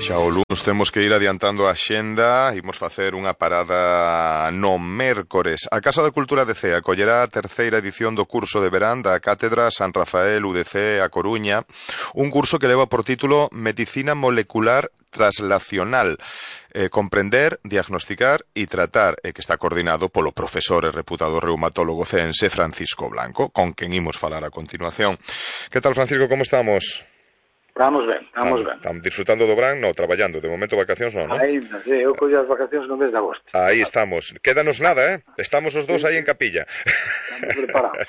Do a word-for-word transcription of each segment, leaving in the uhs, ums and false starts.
Xa o lunes temos que ir adiantando a xenda. Imos facer unha parada no mércores. A Casa da Cultura de Cee acollerá a terceira edición do curso de verán da Cátedra San Rafael U D C A Coruña, un curso que leva por título Medicina Molecular Translacional, eh, comprender, diagnosticar e tratar, e que está coordinado polo profesor e reputado reumatólogo ceense Francisco Blanco, con quen imos falar a continuación. Que tal, Francisco, como estamos? Estamos ben, estamos ah, ben. Estamos disfrutando do verán, no, traballando. De momento vacacións non, non? Aí, non sei, eu collo as vacacións no mes de agosto. Aí estamos. Quédanos nada, eh? Estamos os dous sí, aí en capilla. Estamos preparados.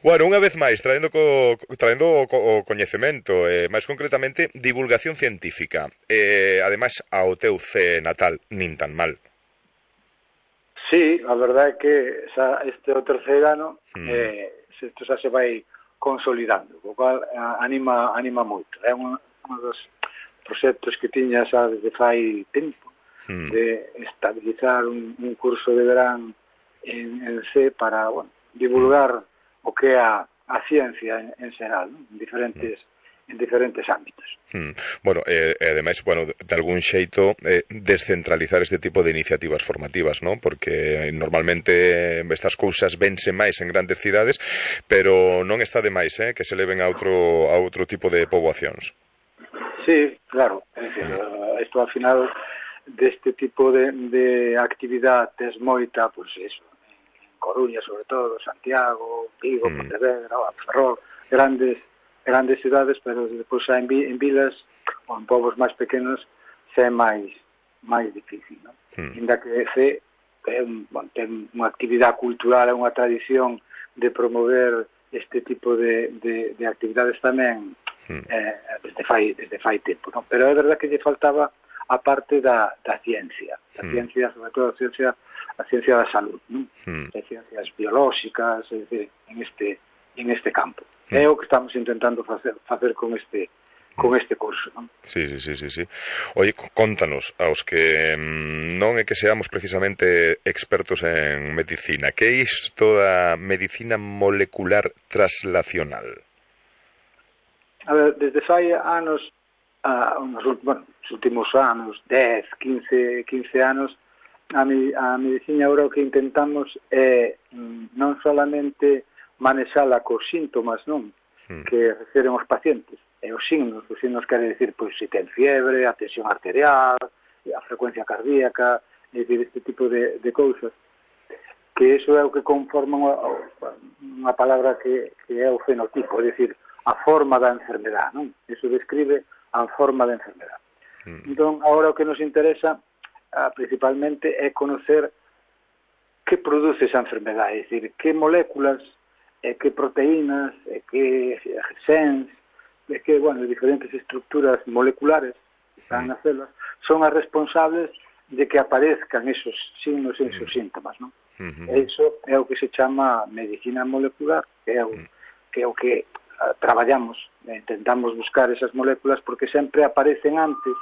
Bueno, unha vez máis, traendo co, traendo o, o coñecemento, eh, máis concretamente, divulgación científica. Eh, ademais, ao teu C natal, nin tan mal. Sí, a verdade é que xa este é o terceiro ano, mm. eh, isto xa se vai consolidando, o cual anima anima moito. É un, un dos proxectos que tiña xa desde fai tempo mm. de estabilizar un, un curso de verán en, en C para, bueno, divulgar mm. o que é a, a ciencia en, en xeral, ¿no? en diferentes mm. en diferentes ámbitos. Hmm. Bueno, e eh, ademais, bueno, de algún xeito eh, descentralizar este tipo de iniciativas formativas, ¿no? Porque normalmente estas cousas vense máis en grandes cidades, pero non está de máis, eh, que se leven a outro a outro tipo de poboacións. Sí, claro, é dicir, hmm. isto ao final deste tipo de, de actividade tes moita, pois pues eso, en Coruña sobre todo, Santiago, Vigo, hmm. Pontevedra, Ferrol, grandes grandes cidades, pero depois xa en, en vilas ou en povos máis pequenos xa é máis máis difícil, non? Hmm. Inda que C é un, bon, ten unha actividade cultural, unha tradición de promover este tipo de, de, de actividades tamén hmm. eh, desde fai desde fai tempo, non? Pero é verdade que lle faltaba a parte da, da ciencia, a hmm. ciencia, sobre todo a ciencia, a ciencia da salud, non? Hmm. As ciencias biolóxicas, é dicir, en este en este campo. Mm. É o que estamos intentando facer facer con este con este curso, non? Sí, sí, sí, sí, sí. Oye, contanos aos que mmm, non é que seamos precisamente expertos en medicina, que é isto da medicina molecular translacional? A ver, desde fai anos, a, unos, bueno, os últimos anos, dez, quince, quince anos, a, mi, a medicina agora o que intentamos é mm, non solamente manexala cos síntomas, non? Hmm. Que refiren os pacientes. E os signos, os signos quere decir, pois, se ten fiebre, a tensión arterial, a frecuencia cardíaca, é dicir, este tipo de, de cousas. Que iso é o que conforma unha, unha palabra que, que é o fenotipo, é dicir, a forma da enfermedade, non? Iso describe a forma da enfermedade. Hmm. Entón, agora o que nos interesa, ah, principalmente, é conocer que produce esa enfermedade, é dicir, que moléculas e que proteínas, e que genes, e que, bueno, diferentes estructuras moleculares que están nas células, son as responsables de que aparezcan esos signos e esos síntomas, non? Uh-huh. E iso é o que se chama medicina molecular, que é o que, é o que uh, traballamos, e intentamos buscar esas moléculas porque sempre aparecen antes,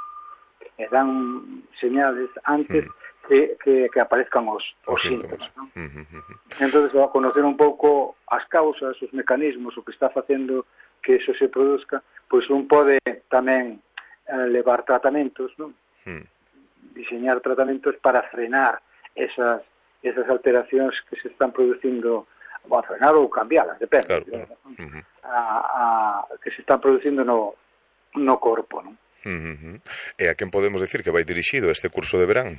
e dan señales antes uh-huh. Que, que, que aparezcan os, os, os síntomas, ¿no? Uh, uh, uh. Entonces, a conocer un pouco as causas, os mecanismos, o que está facendo que eso se produzca, pois un pode tamén eh, levar tratamentos, ¿no? Uh. Diseñar tratamentos para frenar esas, esas alteracións que se están producindo, bueno, frenar ou cambialas, depende, claro. ¿no? Uh-huh. a, a, que se están producindo no, no corpo, ¿no? Uh-huh. E a quen podemos decir que vai dirixido este curso de verán?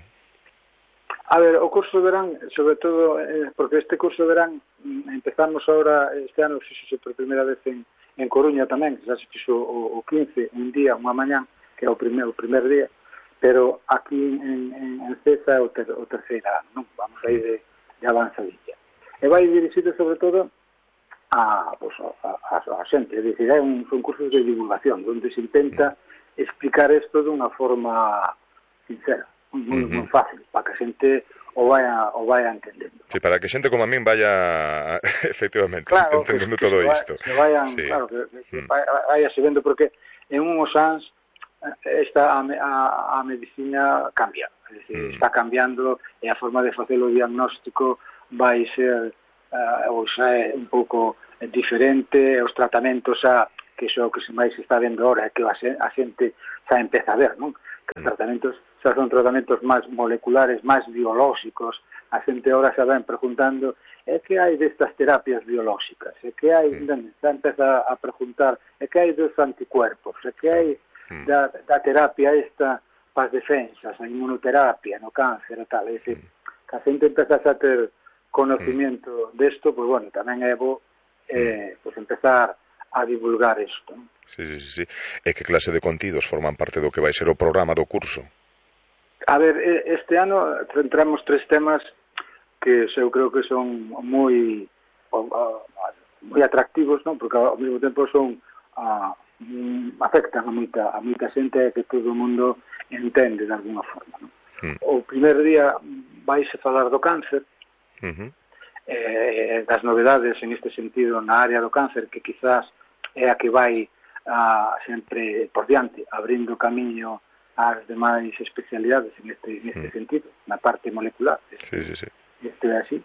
A ver, o curso de verán, sobre todo, eh, porque este curso de verán empezamos ahora, este ano, fixose por primeira vez en, en Coruña tamén, que xa se fixo o, o quince, un día, unha mañán, que é o primer, o primer día, pero aquí en, en, en Cesa é o, ter, o terceiro ano, non? Vamos aí de, de avanzadilla. E vai dirixido, sobre todo, a, pues, a, a, a xente, é dicir, é un, son cursos de divulgación, onde se intenta explicar isto dunha forma sincera. Moi, moi fácil, para que a xente o vaya, o vaya entendendo. Sí, para que xente como a min vaya efectivamente claro, entendendo que, todo que isto. Que vayan, sí. Claro, que, que mm. vaya se vendo, porque en unhos anos esta a, a, a medicina cambia, é dicir, mm. está cambiando e a forma de facer o diagnóstico vai ser uh, ou xa é un pouco diferente, os tratamentos xa que iso que se máis se está vendo ahora, que a xente xa empeza a ver, non? Que os tratamentos xa son tratamentos máis moleculares, máis biolóxicos. A xente ahora xa ven preguntando é que hai destas terapias biolóxicas, é que hai, mm. xa empeza a preguntar, é que hai dos anticuerpos, é que hai mm. da, da terapia esta para as defensas, a inmunoterapia, no cáncer e tal, é dicir, mm. que a xente empeza a ter conocimiento mm. desto, pois, bueno, tamén é bo eh, pois empezar a divulgar isto. Sí, sí, sí. E que clase de contidos forman parte do que vai ser o programa do curso? A ver, este ano centramos tres temas que eu creo que son moi moi atractivos, non? Porque ao mesmo tempo son a, afectan a moita, a moita xente que todo o mundo entende de alguna forma, non? Mm. O primer día vaise falar do cáncer, uh-huh. eh, das novedades en este sentido na área do cáncer, que quizás é a que vai a, sempre por diante, abrindo camiño ás demais especialidades en este, en este mm. sentido, na parte molecular. Sí, sí, sí. Isto é así.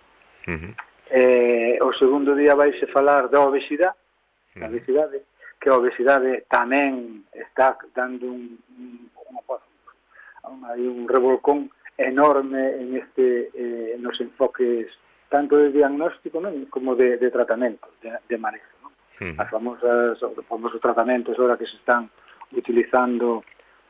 Uh-huh. Eh, o segundo día vaise falar da obesidade, uh-huh. da obesidade, que a obesidade tamén está dando un, un, un, un revolcón enorme en este eh, nos enfoques tanto de diagnóstico, non? Como de, de tratamento, de, de manejo, non? Uh-huh. As famosas, os famosos tratamentos ahora que se están utilizando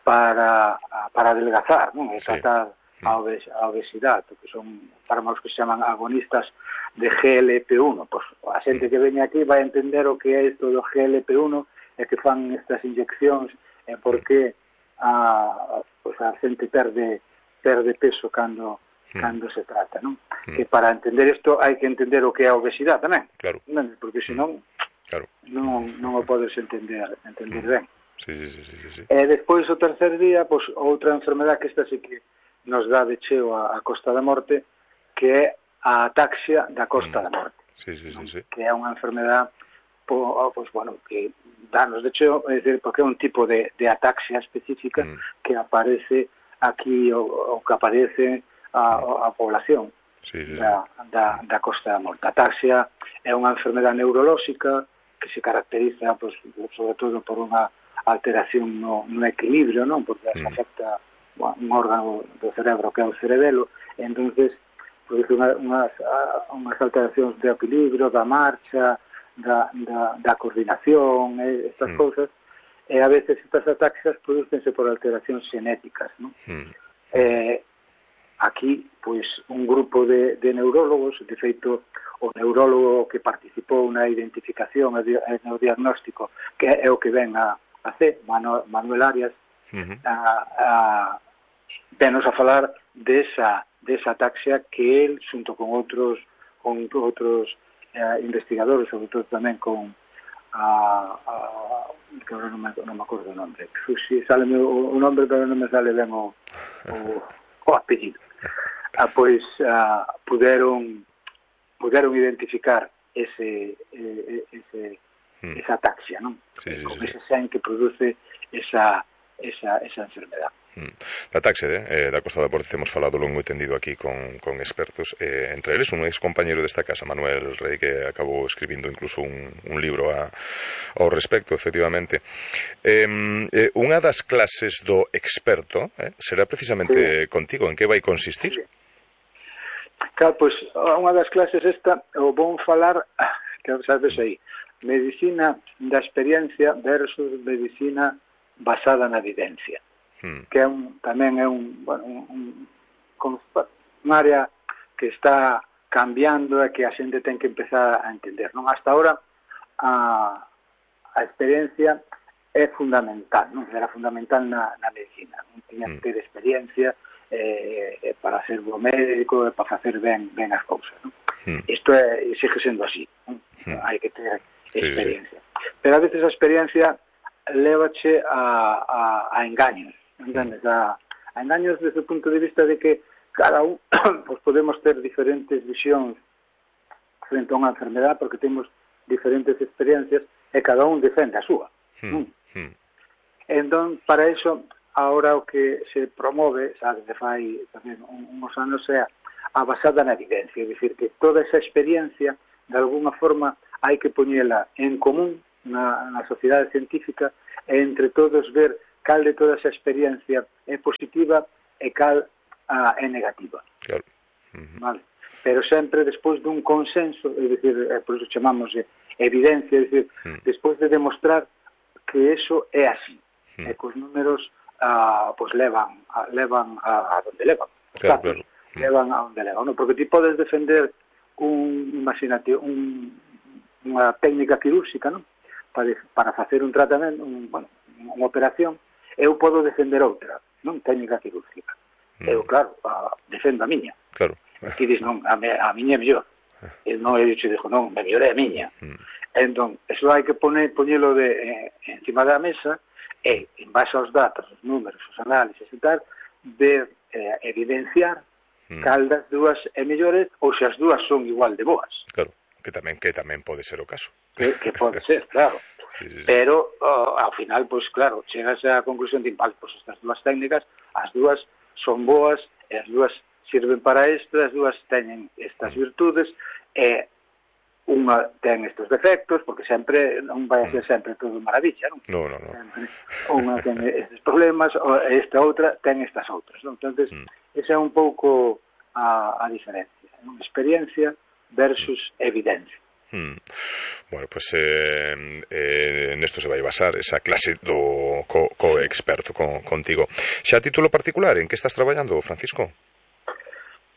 para, para adelgazar, non? E tratar a, obes, a obesidade, que son fármacos que se chaman agonistas de G L P uno. Pois a xente que veña aquí vai entender o que é isto do G L P uno e que fan estas inyeccións e por que a, pois a xente perde, perde peso cando, cando se trata, non? Que para entender isto hai que entender o que é a obesidade tamén, claro. Non? Porque senón claro. non, non o podes entender, entender ben. Sí, sí, sí, sí, sí. E despois o tercer día, pois outra enfermedade que esta sí que nos dá de cheo a, a Costa da Morte, que é a ataxia da Costa mm. da Morte. Sí, sí, sí, sí. Que é unha enfermedade po, pois, bueno, que danos de cheo, é dicir, porque é un tipo de, de ataxia específica mm. que aparece aquí, o, o que aparece a, a población sí, sí, da, da, da Costa da Morte. A ataxia é unha enfermedade neurolóxica que se caracteriza, pois, sobre todo por unha alteración no, no equilibrio, non? Porque mm. afecta un órgano do cerebro que é o cerebelo, e entonces produce unha, unhas, unhas alteracións de equilibrio, da marcha, da, da, da coordinación, e estas mm. cousas, e a veces estas ataxias producense por alteracións genéticas, non? Mm. Eh, aquí, pois, un grupo de, de neurólogos, de feito, o neurólogo que participou na identificación e no diagnóstico, que é o que ven a, a C, Manuel Arias, uh-huh. a, a venos a falar desa, desa ataxia que el, xunto con outros con outros eh, investigadores, sobre todo tamén con a, a que agora non me, non me acordo o nome, si sale o, o nome, pero non me sale ben o, o, o apellido. Ah, pois ah, puderon puderon identificar ese, ese hmm. esa ataxia, non? Sí, sí, con sí, ese sen que produce esa esa, esa enfermedad. Da taxe, eh, da Costa da Morte hemos falado longo e tendido aquí con, con expertos, eh, entre eles un ex compañeiro desta casa, Manuel Rey, que acabou escribindo incluso un, un libro a, ao respecto, efectivamente. Eh, eh, unha das clases do experto eh, será precisamente sí. contigo. En que vai consistir? Sí. Claro, pois, unha das clases esta, o vou falar, que sabes aí, medicina da experiencia versus medicina basada na evidencia. Hmm. Que é un, tamén é un, bueno, un, un, un área que está cambiando e que a xente ten que empezar a entender, non? Hasta ahora a, a experiencia é fundamental, non? Era fundamental na, na medicina, non tiña que ter experiencia eh, para ser bo médico e para facer ben, ben as cousas, non? Hmm. Isto é, sigue sendo así, non? Hmm. Hai que ter experiencia. Sí, sí. Pero a veces a experiencia lévache a, a, a engaños, entendes? A, a engaños desde o punto de vista de que cada un pues podemos ter diferentes visións frente a unha enfermedade porque temos diferentes experiencias e cada un defende a súa. Hmm. Hmm. Entón, para iso, ahora o que se promove, sabe, de fai tamén uns anos, é a basada na evidencia, é dicir, que toda esa experiencia, de alguna forma, hai que poñela en común na, na sociedade científica e entre todos ver cal de toda esa experiencia é positiva e cal a, é negativa. Claro. Uh-huh. Vale. Pero sempre despois dun consenso, é dicir, é, por iso chamamos eh, evidencia, é dicir, uh-huh. despois de demostrar que eso é así, uh-huh. e que os números ah, pues levan a, levan a, a donde levan, claro, claro. Uh-huh. levan a donde levan, ¿no? Porque ti podes defender un, imagínate, un, unha técnica quirúrxica, ¿no? Para, para facer un tratamento, un, bueno, unha operación, eu podo defender outra, non técnica quirúrxica. Uh-huh. Eu, claro, a, defendo a miña. Claro. Aquí dis, non, a, me, a miña é mellor. E non, eu te dixo, non, a mellor é a miña. Mm. Entón, eso hai que poner, poñelo de, eh, encima da mesa e, en base aos datos, os números, os análisis e tal, ver, eh, evidenciar mm. cal das dúas é mellores ou se as dúas son igual de boas. Claro, que tamén que tamén pode ser o caso. Que, que pode ser, claro. Sí, sí, sí. Pero, oh, ao final, pois, pues, claro, chegas á conclusión de, vale, pois, estas dúas técnicas, as dúas son boas e as dúas sirven para isto, as dúas teñen estas virtudes e unha ten estes defectos, porque sempre non vai a ser sempre todo maravilla, non? No, no, no. Sempre unha ten estes problemas, e esta outra ten estas outras, non? Entonces, mm. esa é un pouco a, a diferencia, non? Experiencia versus evidencia. Hmm. Bueno, pues eh, eh, nesto se vai basar esa clase do co, co experto con, contigo. Xa a título particular, en que estás traballando, Francisco?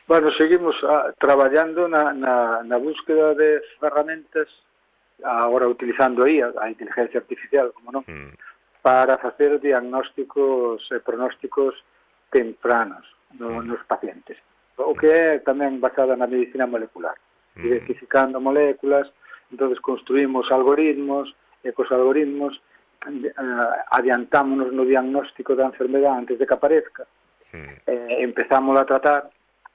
Bueno, seguimos a, traballando na, na, na búsqueda de ferramentas, agora utilizando aí a, a inteligencia artificial, como non, mm. para facer diagnósticos e pronósticos tempranos no, mm. nos pacientes. O que é tamén basada na medicina molecular, mm. identificando moléculas, entonces construímos algoritmos, e cos algoritmos uh, adiantámonos no diagnóstico da enfermedade antes de que aparezca, mm. e empezamos a tratar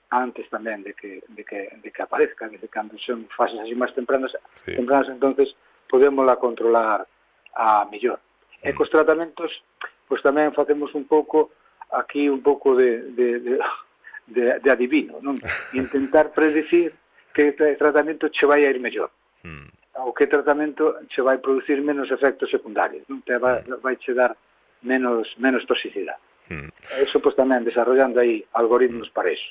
antes tamén de que, de que, de que aparezca, desde cando son fases así máis tempranas, sí. tempranas, entonces podémosla controlar a mellor. Mm. E cos tratamentos, pois tamén facemos un pouco, aquí un pouco de, de, de, de, de adivino, non? Intentar predecir que tratamento che vai a ir mellor, mm. ou que tratamento che vai producir menos efectos secundarios, non? Te vai, vai che dar menos, menos toxicidade. Hmm. Eso, pues, tamén desarrollando aí algoritmos para eso.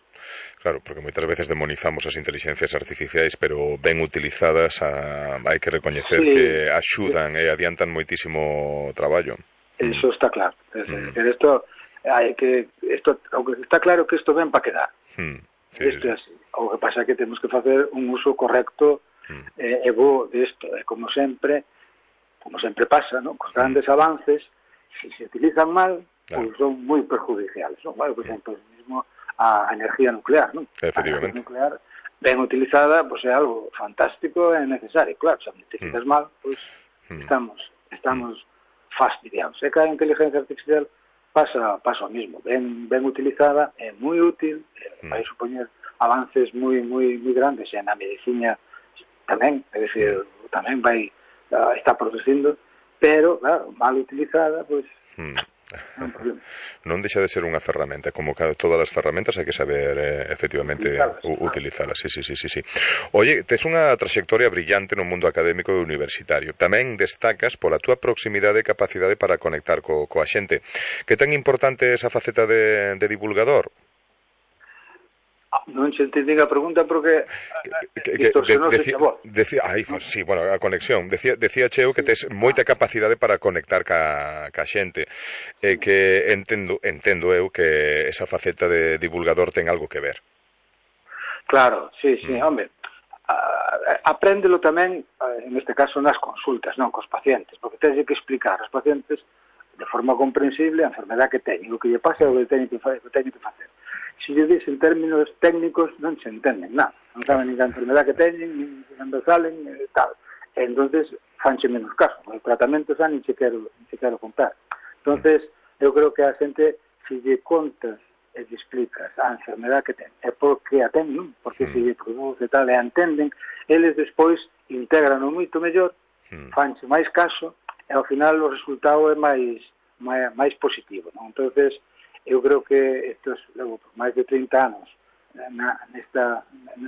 Claro, porque moitas veces demonizamos as inteligencias artificiais, pero ben utilizadas a, hai que recoñecer sí. que axudan e adiantan moitísimo traballo. Eso está claro. Hmm. Pero esto, hai que, esto, o que está claro que isto ven para quedar. Hmm. Sí, isto é así. O que pasa é que temos que facer un uso correcto hmm. eh, e bo de isto. E como sempre, como sempre pasa, ¿no? Cos grandes hmm. avances, se se utilizan mal, claro. Pues son moi perjudiciales, ¿no? Bueno, por exemplo, mismo a energía nuclear, ¿no? Efectivamente. A energía nuclear, ben utilizada, pues é algo fantástico e necesario. Claro, se a utilizas mm. mal, pues mm. estamos estamos mm. fastidiados. E que a inteligencia artificial pasa pasa o mismo. Ben, ben utilizada, é moi útil, mm. vai supoñer avances moi moi moi grandes e na medicina tamén, é dicir, mm. tamén vai uh, está producindo, pero, claro, mal utilizada, pues... Mm. Non, non deixa de ser unha ferramenta, como todas as ferramentas hai que saber eh, efectivamente utilizalas. Sí, sí, sí, sí, sí. Oye, tes unha trayectoria brillante no mundo académico e universitario. Tamén destacas pola túa proximidade e capacidade para conectar co, coa xente. Que tan importante é esa faceta de, de divulgador? Non se entendín a pregunta porque distorsionose a voz. Decía, ai, pues, sí, bueno, a conexión. Decía, decía Cheo que tes moita capacidade para conectar ca, ca xente. E que entendo, entendo eu que esa faceta de divulgador ten algo que ver. Claro, sí, sí, mm. hombre. Uh, apréndelo tamén, uh, en este caso, nas consultas, non cos pacientes, porque tens que explicar aos pacientes de forma comprensible a enfermedade que teñen, o que lle pasa o que teñen que, que, teñen que facer. Se lle dis en términos técnicos non se entenden nada, non saben nin a enfermedade que teñen, nin cando salen, e tal. E entonces fanche menos caso, o tratamento xa nin se quero, nin se quero contar. Entonces, eu creo que a xente, se lle contas e lle explicas a enfermedade que ten, é porque a ten, non? Porque se lle produce tal e a entenden, eles despois integran moito mellor, fanche máis caso, e ao final o resultado é máis, máis, máis positivo, non? Entonces, eu creo que estos, logo, por máis de trinta anos na, nesta,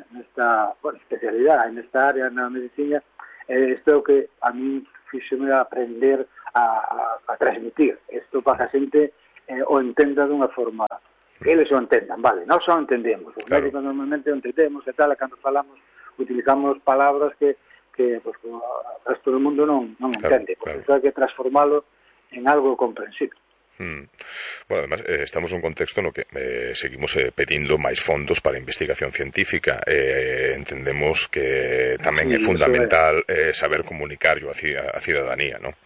nesta bueno, especialidade, nesta área na medicina, eh, isto é o que a mí fíxome aprender a, a, a transmitir isto para que a xente eh, o entenda dunha forma que eles o entendan, vale, nós o entendemos, os claro. médicos normalmente o entendemos e tal, e cando falamos utilizamos palabras que, que pues, o resto do mundo non, non claro, entende, por claro. Iso hai que transformalo en algo comprensible. Hmm. Bueno, además, eh, estamos nun contexto no que eh, seguimos eh, pedindo máis fondos para a investigación científica. Eh, entendemos que tamén sí, é fundamental é... Eh, saber comunicarlo a, a cidadanía, non?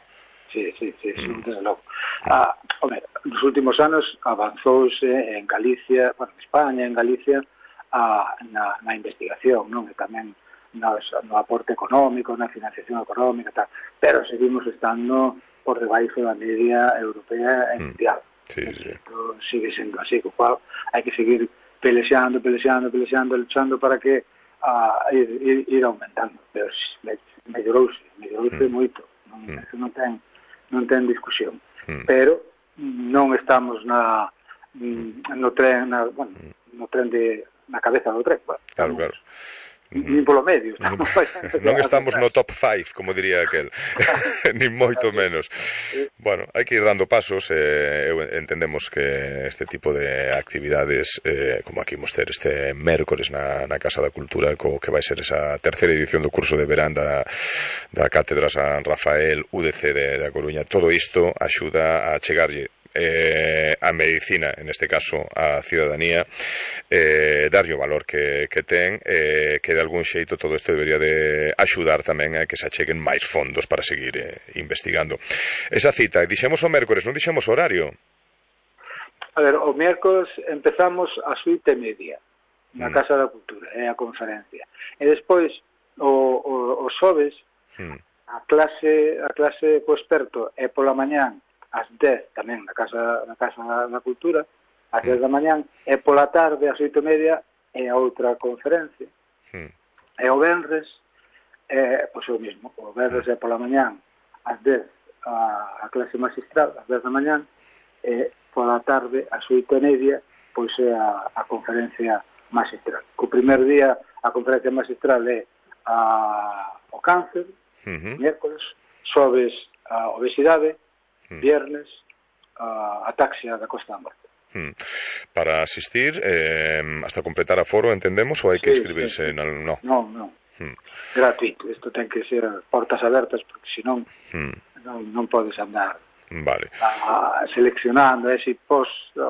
Sí, sí, sí, sí, mm. desde logo. Ah, hombre, nos últimos anos avanzouse en Galicia, bueno, en España, en Galicia, a, na, na investigación, non? E tamén nos, no aporte económico, na financiación económica, tal. Pero seguimos estando por debaixo da media europea e mundial. Sí, sí. Isto sigue sendo así, co cual hai que seguir pelexando, pelexando, pelexando, luchando para que uh, ir, ir, ir aumentando. Pero me, mellorouse, mellorouse mm. moito. Non, mm. Eso non ten, non ten discusión. Mm. Pero non estamos na no tren, na, bueno, no tren de na cabeza do tren. Bueno, claro, claro. Nin polo medio. Estamos non estamos no top five, como diría aquel. Nin moito menos. Bueno, hai que ir dando pasos. Eh, entendemos que este tipo de actividades, eh, como aquí imos ter este mércores na, na Casa da Cultura, co que vai ser esa terceira edición do curso de verán da, da Cátedra San Rafael U D C de, da Coruña, todo isto axuda a chegarlle Eh, a medicina, en este caso a cidadanía, eh, darlle o valor que, que ten, eh, que de algún xeito todo isto debería de axudar tamén a que se acheguen máis fondos para seguir eh, investigando. Esa cita, dixemos o mércores, non dixemos o horario? A ver, o mércores empezamos a suite media na mm. Casa da Cultura, é a conferencia, e despois o, o, o xoves mm. a clase a clase co experto é pola mañán ás dez tamén na Casa, na Casa da Cultura, ás dez da mañán, e pola tarde, ás oito e media, é a outra conferencia. Mm. E o venres, é, pois o mismo, o venres é pola mañán, ás dez, a, a clase magistral, ás dez da mañán, e pola tarde, ás oito e media, pois é a, a conferencia magistral. O primer día, a conferencia magistral é a, o cáncer, mm-hmm. miércoles, xoves a obesidade, viernes, a ataxia da Costa da Morte. Hmm. Para asistir, eh, hasta completar aforo, entendemos, ou hai que sí, inscribirse? Sí, sí. No, no. no, no. Hmm. Gratuito. Isto ten que ser portas abertas, porque senón hmm. non, non podes andar vale. a, a seleccionando, e se pos a,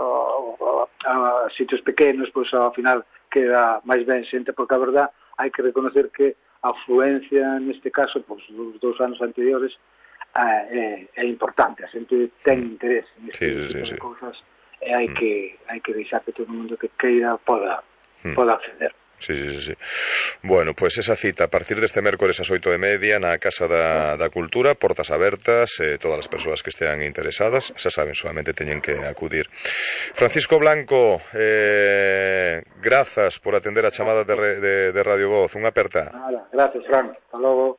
a, a sitios pequenos, pois ao final queda máis ben xente, porque a verdad hai que reconocer que a afluencia neste caso, pois os dous anos anteriores, É, é importante, a xente ten interés neste sí, tipo sí, de sí. cousas, e hai mm. que hai que deixar que todo o mundo que queira poda, mm. poda acceder. Sí, sí, sí. Bueno, pois pues esa cita a partir deste mércores ás oito e media na Casa da, da Cultura, portas abertas, eh, todas as persoas que estean interesadas, xa saben, solamente teñen que acudir. Francisco Blanco, eh, grazas por atender a chamada de, de, de Radio Voz, unha aperta. Nada, gracias, Fran, hasta logo.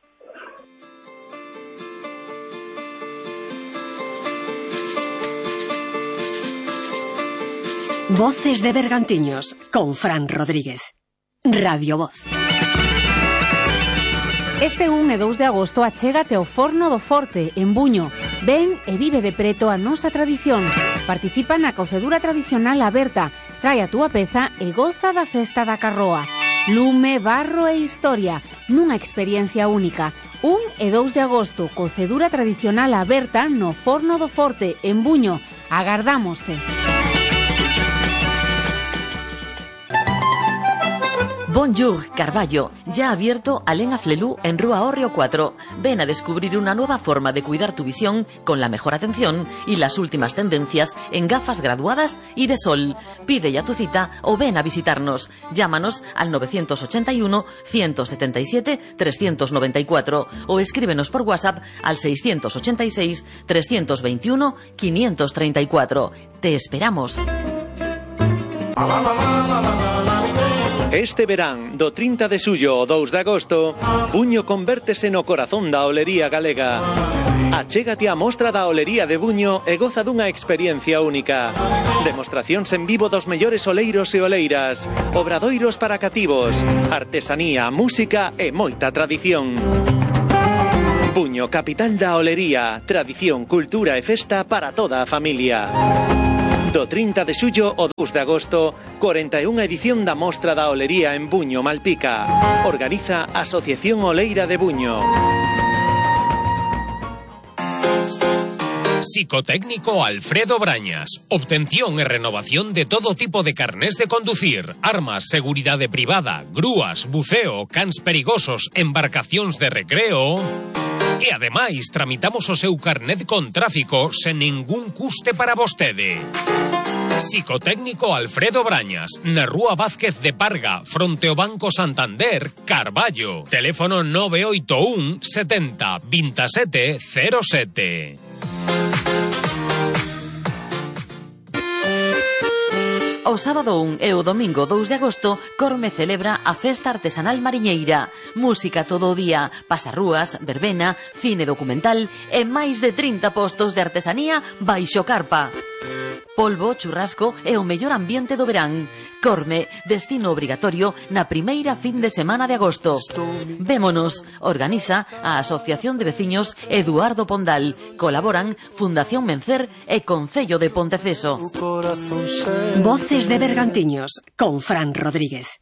Voces de Bergantiños, con Fran Rodríguez. Radio Voz. Este un e dous de agosto achégate ao Forno do Forte, en Buño. Ven e vive de preto a nosa tradición. Participa na cocedura tradicional aberta. Trae a túa peza e goza da festa da carroa. Lume, barro e historia, nunha experiencia única. un e dous de agosto, cocedura tradicional aberta no Forno do Forte, en Buño. Agardámoste. Bonjour, Carballo, ya abierto Alén Aflelú en Rúa Hórreo cuatro. Ven a descubrir una nueva forma de cuidar tu visión con la mejor atención y las últimas tendencias en gafas graduadas y de sol. Pide ya tu cita o ven a visitarnos. Llámanos al nueve ocho uno, uno siete siete, tres nueve cuatro o escríbenos por WhatsApp al seis ocho seis, tres dos uno, cinco tres cuatro. Te esperamos. Este verán, do trinta de xullo ao dous de agosto, Buño convértese no corazón da olería galega. Achégate á mostra da olería de Buño e goza dunha experiencia única. Demostracións en vivo dos mellores oleiros e oleiras, obradoiros para cativos, artesanía, música e moita tradición. Buño, capital da olería, tradición, cultura e festa para toda a familia. Do trinta de xullo ao dous de agosto, cuarenta e unha edición da Mostra da Olería en Buño, Malpica. Organiza a Asociación Oleira de Buño. Psicotécnico Alfredo Brañas. Obtención e renovación de todo tipo de carnés de conducir, armas, seguridade privada, grúas, buceo, cans perigosos, embarcacións de recreo. E ademais tramitamos o seu carnet con tráfico sen ningún custe para vostede. Psicotécnico Alfredo Brañas, na Rúa Vázquez de Parga, fronte ao Banco Santander, Carballo. Teléfono nove oito un setenta veintisiete cero sete. O sábado un e o domingo dous de agosto, Corme celebra a Festa Artesanal Mariñeira. Música todo o día, pasarrúas, verbena, cine documental e máis de trinta postos de artesanía baixo carpa. Polvo, churrasco e o mellor ambiente do verán. Corme, destino obrigatorio na primeira fin de semana de agosto. Vémonos, organiza a Asociación de Veciños Eduardo Pondal. Colaboran Fundación Mencer e Concello de Ponteceso. Voces de Bergantiños con Fran Rodríguez.